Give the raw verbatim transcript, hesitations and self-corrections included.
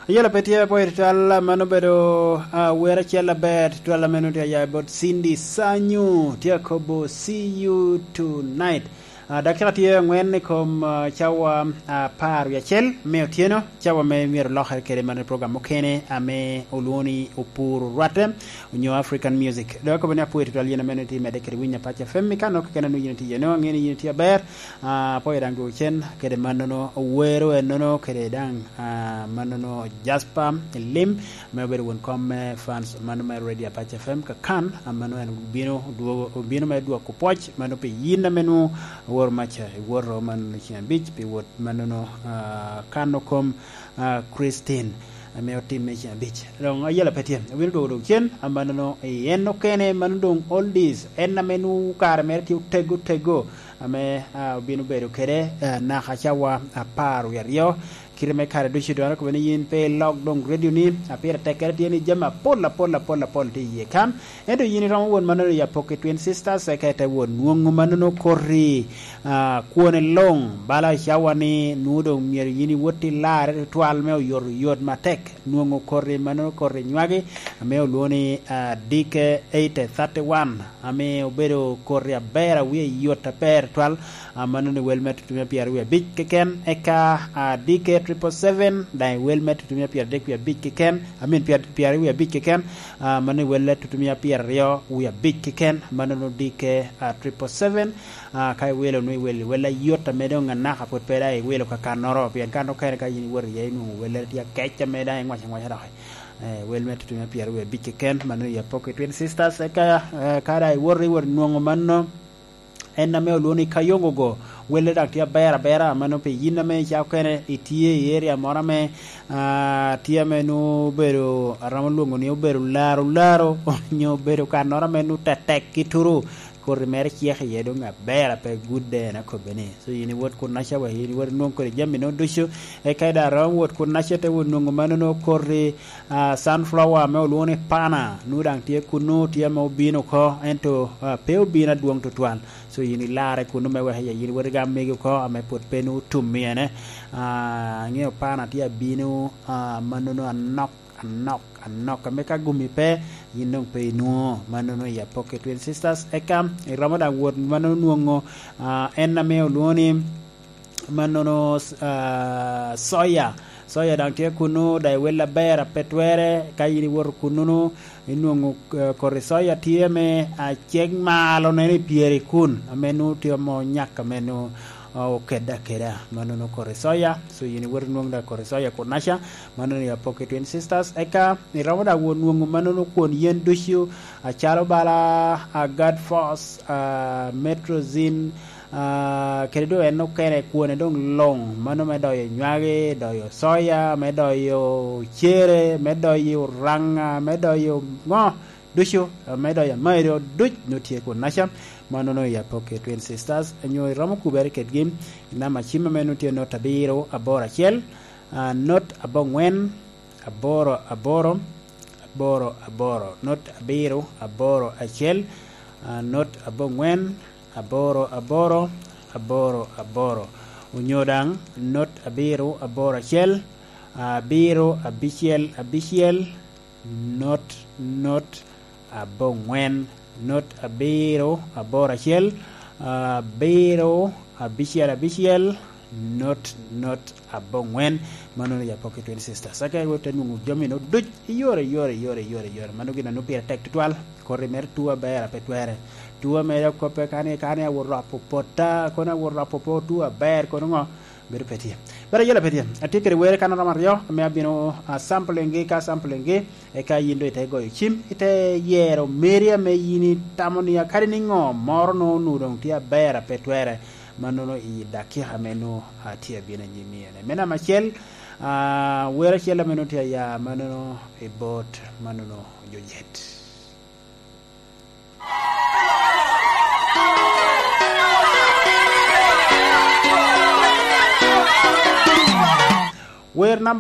Ayela pe tye apwoyo tutwal, mano obedo, ah, wer acel aber tutwal ame nongo tye aya bot Cindy Sanyu, tye akobo, "See you tonight." Ah, dakika tye angwen i kom, ah, cawa, ah, apar wie acel me otyeno, cawa me myero olokere kede mano i program mukene ame olwongo ni Opuro Rwatte, onyo African Music. Dok akobo ni apwoyo tutwal yen ame nongo itye medde kede winyo Apac F M, i kan okene nongo yin itye iye, nongo angeyo ni yin itye aber. Ah, apwoyo daŋ dwogo cen kede mannono, owero ennono kede daŋ, ah, mannono Jasper Lim, ame obedo won kom me fans mano me Radio Apac F M kakan, ah, mano en obino dwogo, obino me dwoko pwoc mano pi yin ame nwoŋo oworo maca, iwoto mannono ceng abic pi wot mannono, ah, kano kom, ah, Christine, ame otimme ceng abic. Doŋ ayela pe tye, obino dwogo dwogo cen, ah, mannono i en okene, mano doŋ oldies, en ame nwoŋo kare mere tye otego tego, ame, ah, obino bedo kede, ah, naka cawa apar wie aryo. Kite me kare ducu doŋ akobo ni yin pe ilok doŋ redioni, a pire tekkere tye ni jami apol, apol, apol, apol tye iye kan. Ento yin iromo wot mannono i Apoki Twin Sisters, eka ite wot nwoŋo mannono koti, ah, kwone luŋ, bala cawa ni nwoŋo doŋ myero yin iwot ilarre tutwal me oyoto yot matek. Nwoŋo koti mannono koti nywagi, ame olwoŋo ni, ah, D K eight thirty-one, ame obedo koti aber, a wie yot aber tutwal, ah, mano ni wel me tutumia pyeraryo wie abic keken, eka, ah, D K triple seven, daŋ i wel me tutumia pyeradek wie abic keken, I mean, pyer-, pyeraryo wie abic keken, ah, mano ni wel me tutumia pyeraryo wie abic keken, mano ni D K, ah, triple seven, ah, ka iwelo nwoŋo iwelo, wel ayot ame doŋ anaka pwod pe daŋ iwelo kakannoro, pien kan okene ka yin iwoto iye inwoŋo wellere tye akec ame daŋ ingwaco angwaca doki. Eh, wel me tutumia pyeraryo wie abic keken, mano i Apoki Twin Sisters, eka, eh, ka daŋ iwoto, iwoto nwoŋo mano, en ame olwoŋo ni Kayongo go, welle daŋ tye aber abera, mano pi yin ame ica okene itye i area moro ame, ah, tye ame nwoŋo obedo, aromo lwoŋo ni obedo laro laro, onyo obedo kannoro ame nwoŋo tetek ki turu, koti mere cek iye doŋ aber, ape gudde en akobbe ni. So yin iwot kunnaca wa, yin iwot inwoŋ kodi jami no ducu, eka i daŋ romo wot kunnaca te wot nwoŋo mano no koti, ah, sunflower ame olwoŋo ni pana, nwoŋo daŋ tye kunnu, tye ame obino oko, ento, ah, pe obino adwoŋ tutwal. So yin ilarre kunnu me wek yin iwot igam megi oko ame pwod pe nwoŋo otum i ene. Ah, aŋeo pana tye abino, ah, mano no anok anok, anok, ame ka gumi pe, yin doŋ pe inwoŋo. Mannono i Apoki Twin Sisters. Eka iromo daŋ wot mannono nwoŋo, ah, en ame olwoŋo ni, mannono, ah, soya. Soya daŋ tye kunnu, daŋ i wel aber ape twere. Ka yin iwoto kunnu-nu, inwoŋo, eh, koti soya tye ame, ah, cek malo neno i pyere kun, ame nwoŋo tye ame onyak, ame nwoŋo, ah, okedde akeda. Mannono koti soya. So yin iwoto inwoŋo daŋ koti soya kunnaca. Mano ni Apoki Twin Sisters. Eka iromo daŋ wot nwoŋo mannono kwon yen ducu, acalo bala, ah, Guard Force, ah, Metrozin, ah, kede doŋ en okene kwone doŋ luŋ, mano me doyo nywagi, doyo soya, me doyo cere, me doyo ranga, me doyo ŋo ducu, ah, me doyo amairo duc nwoŋo tye kunnaca. Mannono i Apoki Twin Sisters, nyo iromo kubere kedgi, i namba cim ame nwoŋo tye not abiro aboro acel, ah, not aboŋwen, aboro aboro, aboro aboro, not abiro aboro acel, ah, not aboŋwen, aboro aboro, aboro aboro. Onyo daŋ not abiro aboro acel, abiro abicel abicel, not, not aboŋwen, not abiro aboro acel, abiro abicel abicel, not, not aboŋwen. Mano ni Apoki Twin Sisters. Aka iwot te nwoŋo jami no duc i yore, yore, yore, yore, yore. Mano gin a nwoŋo pire tek tutwal. Koti mere tuo aber ape twere. Tuo mere okoppe kani, kani awot rwapo pota, kono awot rwapo po tuo aber, kono ŋo? Bedo pe tye. Bedo ayela pe tye. Atye kede were kan romo aryo, ame abino, ah, sampling gi, ka sampling gi, eka yin doŋ ite goyo cim, ite yero meri ame yin itamo ni akadi ni ŋo moro no onwoŋo doŋ tye aber ape twere, mannono i dakika ame nwoŋo atye abino anyim iye. Me namba acel, ah, wer acel ame nwoŋo tye aya, mannono i bot, mannono Jojet. Wer namba